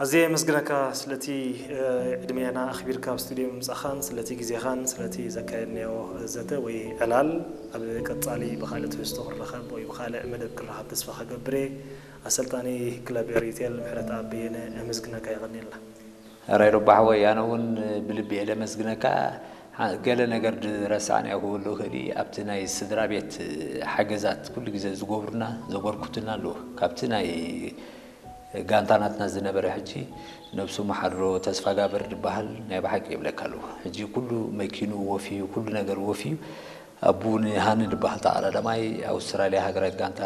ኣዝየ የመስግነካ ስለቲ ዕድሜና ኣኽቢርካ ኣብ ስቱድዮ ምምጻኻን ስለቲ ግዜኻን ስለቲ ዘካየድናዮ ዘተ ወይ ዕላል። ኣብ ቀጻሊ ብኻልእ ትሕዝቶ ክንራኸብ ወይ ብኻልእ መደብ ክንራኸብ ተስፋ ክገብር እየ። ኣሰልጣኒ ክለብ ኤሪቴል ምሕረተኣብ በየነ የመስግነካ። የቐንየልና። ሕራይ ሮባ ሓወይ፣ ኣነ እውን ብልቢ እየ ለመስግነካ። ገለ ነገር ዝረሳዕናዮ ክህሉ ይኽእል እዩ። ኣብቲ ናይ ስድራ ቤት ሓገዛት ኩሉ ግዜ ዝገብሩና ዘበርኩትና ኣለዉ። ካብቲ ናይ ጋንታ ናትና ዝነበረ ሕጂ ነብሱ መሓድሮ ተስፋጋብር ዝበሃል ናይ ብሓቂ ይብለካ ኣለዉ። ሕጂ ኩሉ መኪኑ ወፍዩ፣ ኩሉ ነገር ወፍዩ። ኣቡ ንሃኒ ዝበሃል ተቓዳዳማይ ኣውስትራልያ ሃገራዊት ጋንታ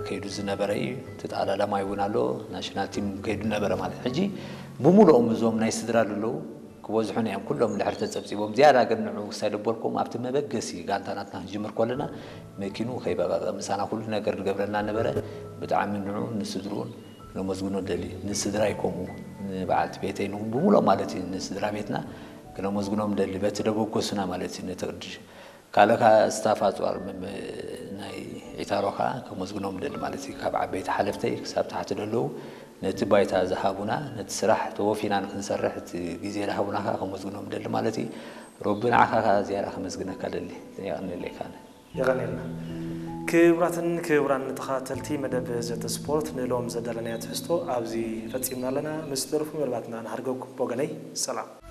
ከይዱ ዝነበረ እዩ። እቲ ተቓዳዳማይ እውን ኣሎ፣ ናሽናል ቲም ከይዱ ነበረ ማለት። ሕጂ ብሙሉኦም እዞም ናይ ስድራ ዘለዉ ክበዝሑና እዮም። ኩሎም ድሕሪ ተጸብጺቦም ዝያዳ ግን ንዑ ክሳይ ደበልኩም ኣብቲ መበገሲ ጋንታ ናትና ክንጅምር ከለና መኪኑ ከይበቐቐ ምሳና ኩሉ ነገር ዝገብረልና ነበረ። ብጣዕሚ ንዑ ንስድርኡን ነመስግኖ ደሊ። ንስድራይ ከምኡ ንበዓልቲ ቤተይ ን- ብሙሉኦም ማለት እዩ ንስድራ ቤትና ክነመስግኖም ደሊ በቲ ደበገሱና ማለት እዩ ነቲ ቅድሽ ካልእ ከዓ ስታፍ ኣፅዋር ናይ ዒታሮ ከዓ ከመስግኖም ደሊ ማለት እዩ። ካብ ዓበይቲ ሓለፍተይ ክሳብ ታሕቲ ደለዉ ነቲ ባይታ ዝሃቡና ነቲ ስራሕ ተወፊና ንክንሰርሕ እቲ ግዜ ዝሃቡና ከዓ ከመስግኖም ደሊ ማለት እዩ። ረቢ ንዓኻ ከዓ ዝያዳ ከመስግነካ ደሊ። የቐንለይ ካነ የቐንየልና። ክቡራትን ክቡራን ተኸታተልቲ መደብ ዘተ ስፖርት ንሎም ዘዳለናዮ ትሕዝቶ ኣብዚ ፈጺምና ኣለና። ምስ ደርፉ መደባትና ንሃርገኩም። ብወገነይ ሰላም።